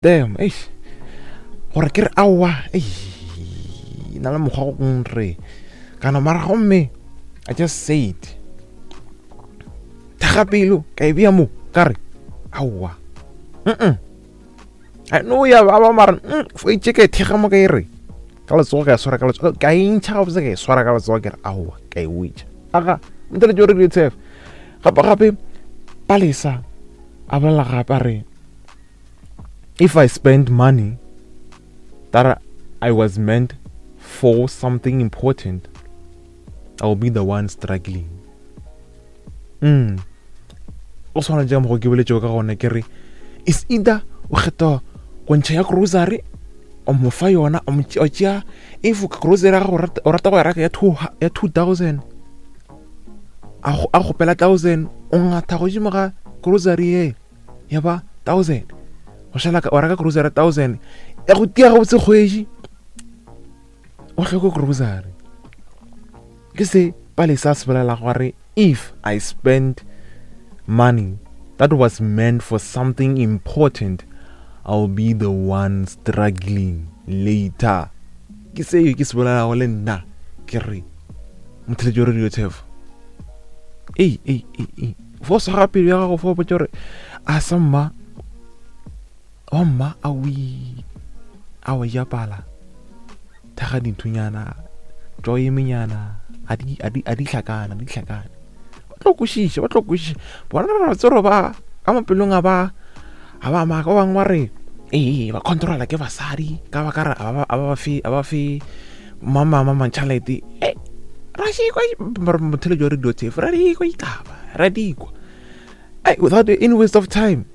Damn, eish. Gore ke re aowa, eish. Na le mokgwa go re. Kana mara gomme I just said. Thaga pelo ka e bea mo ka re aowa. Mm. I know ya ba ba mara mm fo itse ke thega mo ka e re. Ka letsogo ka e swara ka letsogo ka e ntšha gabotse ka e swara ka letsogo ke re aowa ka e wetša. Aga, ntele jo re di tshefa. Gape gape Palesa a bolela gape a re if I spend money that I was meant for something important, I'll be the one struggling. Mm. O tshwana jang go ke boletšego ka gona ke re is either o kgetha go ntšha ya grocery o mo fa yona o tšea if grocery ya gago o rata go ya reka ya 2000 a kgopela 1000 o ngatha godimo ga grocery ye ya ba 1000 go šala wa reka grocery 1000 ya go tia gabotse kgwedi o hloke grocery ke se palesa se bolela gore if i spend money that was meant for something important i'll be the one struggling later ke seo ke se bolelago le nna ke re motheletši wa radio tefo ei ei ei ei fo swara pelo ya gago fo botsa gore a sa mma wa mma a wi a wa ja pala thaga dinthunyana tšwa emenyana a di a di a di hlakana di hlakana ba tlo kwešiša ba tlo kwešiša bona ba tsoro ba ka mapelong a ba a ba maka ba bangwe ba re ee ba controla ke basadi ka ba ka re a ba fe a ba fe mama mama tšhalete e ra šikwa motheletši wa radio tafe ra dikwa ditaba ra dikwa ai without any waste of time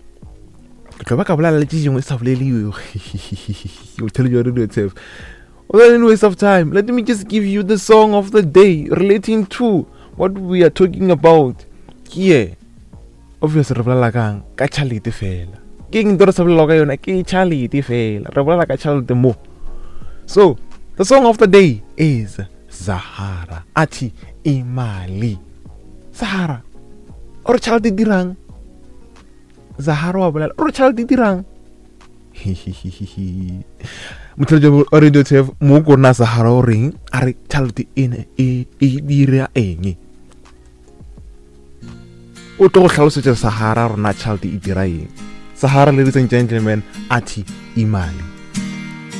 ke tlo ba ka bolela le tše dingwe sa boleliwe motheletši wa radio tafe without any waste of time let me just give you the song of the day relating to what we are talking about here Obviously re bolela kang ka tšhalete fela. Ke eng nto re sa bolela ka yona ke tšhalete fela. Re bolela ka tšhalete mo. So, the song of the day is Zahara. Athi imali. Zahara. O re tšhalete dirang? Zahara wa bolela. O re tšhalete dirang? Motlhaletši wa radio tef mo ko rena Zahara o reng a re tšhalete ene e e dira eng? O tlo go hlalosetša Sahara rona tšhelete e dira eng. Sahara, ladies and gentlemen, athi imali.